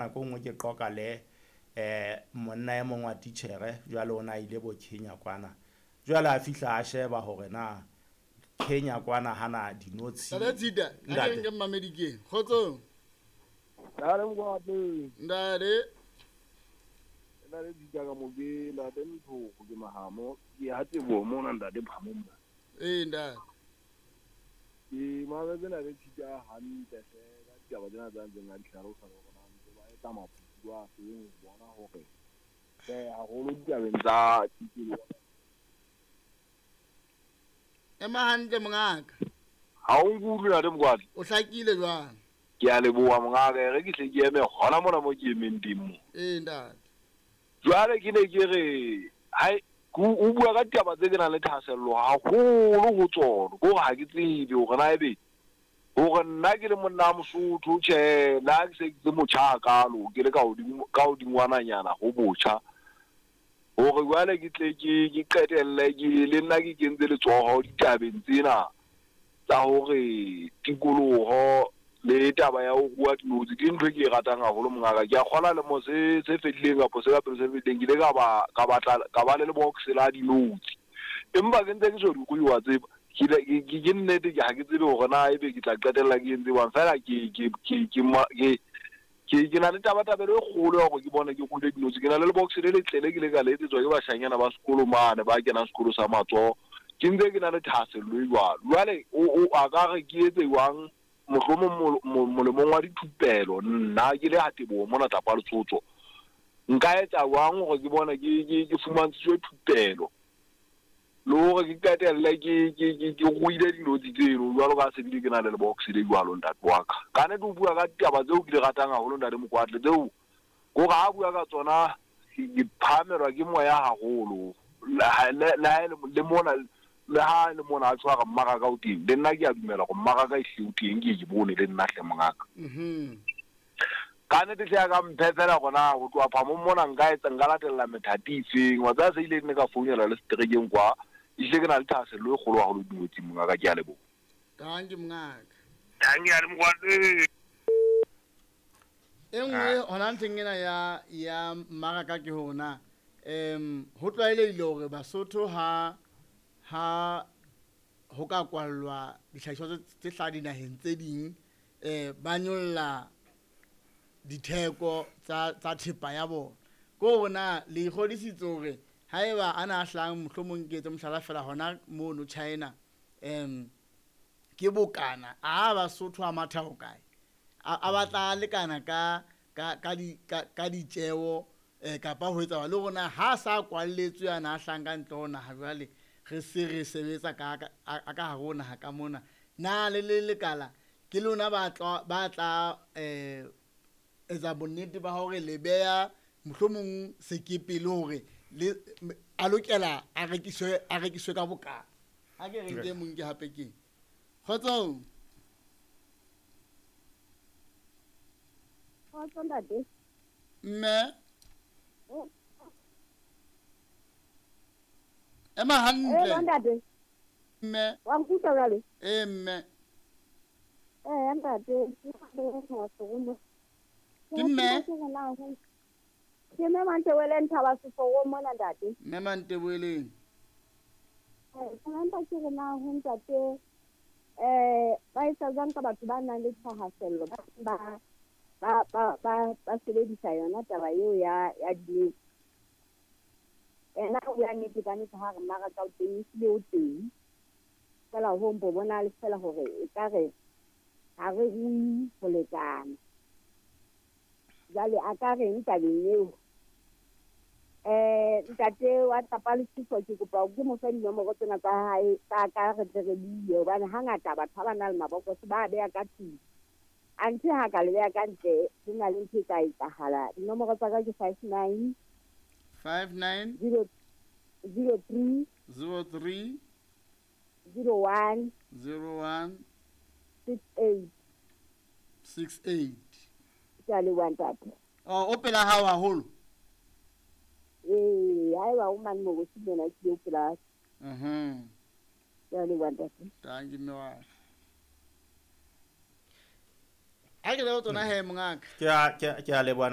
Nako e nngwe ke qoqa le monna e mong wa titjhere, jwale o na ile bo Kenya kwana. Jwale a fihla a sheba hore na Kenya kwana hana dinotshi. Ntate Tshita, a ke nke mmamedi ke. Kgotsong. Ntate Mokwatle. Ntate. Ntate Tshita ka mo ke ntate Nthoko ke mahamo. Ke ha Teboho mona ntate Phamo mona. Ee ntate. Ke mametse ntate Tshita hantle hle ka ditaba tsena tsa ntseng a di hlalosa hore na ntse ba etsa maphuthu a feng ho bona hore haholo ditabeng tsa tikoloho. Ema hantle mongaka. Ha o nkutlwe ntate Mokwatle? O hlakile jwang? Ke a leboha mongaka, e re ke hle ke eme hona mona mo ke emeng teng mo. Ee ntate. Jwale ke ne ke re hai o bua ka ditaba tse ke nang le thahasello haholo ho tsona, ke hore ha ke tsebe hore na ebe hore nna ke le monna wa Mosotho, tjhe le ha ke se ke se motjha hakalo, ke le ka hodimo ka hodingwananyana ho botjha, hore jwale ke tle ke ke qetelle ke le nna ke kentse letsoho ditabeng tsena tsa hore tikoloho le taba ya ho rua dinotshi ke ntho e ke e ratang haholo mongaka. Ke a kgola lemo se se fedileng kapa se ka pele se fedileng ke ile ka ba ka batla ka ba le lebox la dinotshi, empa ke ntse ke so di rue wa tseba. Ke ke ke nnete ke ha ke tsebe hore na ebe ke tla qetella ke entse jwang, feela ke ke ke ke ke ke ke na le tabatabelo e kgolo ya hore ke bone ke ruile dinotshi. Ke na le lebox le letle le ke ile ka le etsetswa ke bashanyana ba sekolo mane ba kenang sekolo sa matsoho. Ke ntse ke na le thahasello e jwalo. Jwale o o a ka re ke etse jwang mohlomong molemong wa dithupelo, nna ke le ha Teboho mona Tlapa Letsotso, nka etsa jwang hore ke bone ke ke ke fumantshitswe thupelo le hore ke qetelle ke ke ke ke ruile dinotshi tseno jwalo ka se bile ke na le lebox le jwalo ntate wa ka. Ka nnete o bua ka ditaba tseo ke di ratang haholo ntate Mokwatle, tseo ke hore ha a bua ka tsona ke phahamelwa ke moya haholo. Le ha le le mona le ha le mona a tshwara mmaraka o teng, le nna ke a dumela hore mmaraka ehlile o teng, ke ye ke bone le nna hle mongaka. Ka nnete hle a ka mphe feela hore na ho tloha phamong mona nka etsa nka latella methati e feng. Wa tseba se ile ne ka founela le seterekeng kwa, ehlile ke na le thahasello e kgolo haholo dingotsing mongaka, ke a leboha. Dankie mongaka. Dankie ale Mokwatle. E nngwe hona ntlheng ena ya ya mmaraka ke hore na ho tlwaelehile hore Basotho ha ha ho ka kwallwa dihlahiswa tse hlaha dinaheng tse ding ba nyolla ditheko tsa tsa thepa ya bona. Ke hore na le ikgodisitse hore haeba a na a hlahang mohlomong ke etse mohlala fela hona mono China ke bokana a Basotho a matha hokae? A batla a lekana ka ka ka di ka ka ditjeo kapa ho etsa le hore na ha sa kwalletswe ana a hlahang ka ntle ho naha jwale re se re sebetsa ka ka a ka hare ho naha ka mona, na le le lekala ke lona ba tla ba tla etsa bonnete ba hore le beha mohlomong sekepe le hore le a lokela a rekiswe a rekiswe ka bokana? Ha ke re nke mong ke hape ke kgotsong. Kgotso ntate. Mme. Ema hantle. Ee ntate. Mme. Wa nkutlwa jwale? Ee mme. Ee ntate, ke mme. Ke mme Mantebeleng Thaba Seforong mona ntate. Mme Mantebeleng. Ke mpa ke re na ho ntate ba etsa jwang ka batho ba nang le thahasello ba ba ba ba ba sebedisa yona taba eo ya ya dinotshi. Ena o bua nnete ka nnete ha re mmaraka o teng, ehlile o teng. Feela ho mpo bona le feela hore ekare ha re rui ho lekana. Jwale a ka reng tabeng eo? Ntate wa Tlapa Lesotho ke kopa ke mo fe dinomoro tsena tsa hae tsa ka re tle re bue, hobane hangata batho ha ba na le mabokose ba beha ka tlung. Anthe ha ka le beha ka ntle ho na le ntho e tla etsahala. Dinomoro tsa ka ke 59 59 0 03 03 01 01 68. 68. Ke a leboha ntate. Oh, o pela hao haholo? Ee, haeba o mane Morosi mona ke eo pela. Ke a leboha ntate. Thank you mme wa. Ha ke le tsona he mongaka. Ke a leboha.